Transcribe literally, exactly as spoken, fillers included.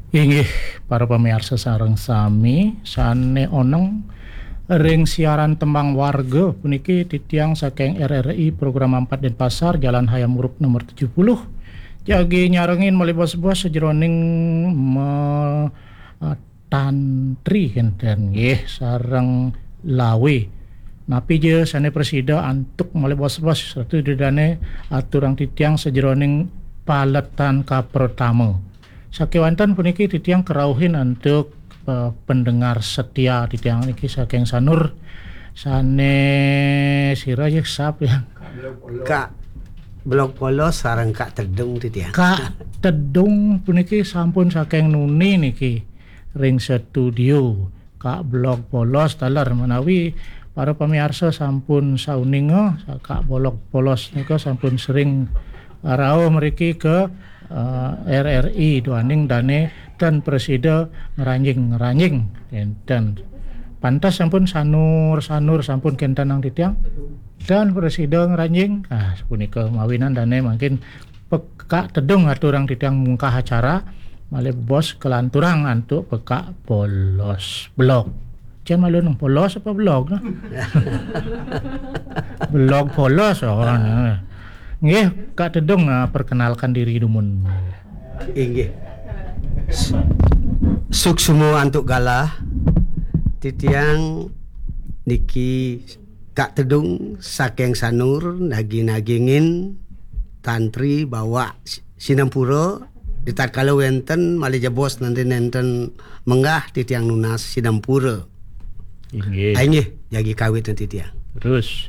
Inggih, para pamiarsa sareng sami, sane oneng ring siaran Tembang Warga puniki titiang saking R R I Program empat Denpasar, Jalan Hayam Wuruk nomor tujuh puluh. Jagi nyarengin malih bos-bos sajeroning me-, eh, tantri kenten nggih sareng lawe. Napi ja sane prasida antuk malih bos-bos, ratu ida dane aturang titiang sajeroning paletan kapratama. Sakewanten puniki titiang kerauhin antuk, eh, pendengar setia titiang niki saking Sanur, sane sira ya sap ya. Kak Blog Polos sareng Kak Tedung titiang. Kak Tedung puniki sampun saking nuni niki ring studio. Kak Blog Polos taler menawi para pamiarsa sampun sauninga, Kak Blog Polos nika sampun sering rauh mriki ke, eh, R R I duaning dane ten prasida ngranjing-ngranjing kenten. Pantas sampun Sanur-Sanur sampun kenten nang titiang. Ten prasida ngranjing. Ah, sapunika mawinan dane mangkin pekak Tedung aturang titiang mungkah acara malih bos kelanturang antuk Pekak Polos Blog. Jan malu nang polos apa blog nah? Blog polos, oh, nah. Nggih, Kak Tedung, nah, perkenalkan diri dumun. Inggih. Su-, suksma antuk galah titiang niki Kak Tedung saking Sanur naging-nagingin tantri bawak si-, sinampura, di tatkala wenten malih jebos nanti nenten menggah titiang nunas sinampura. Inggih. Ah, inggih, jagi kawit nanti tiang. Terus.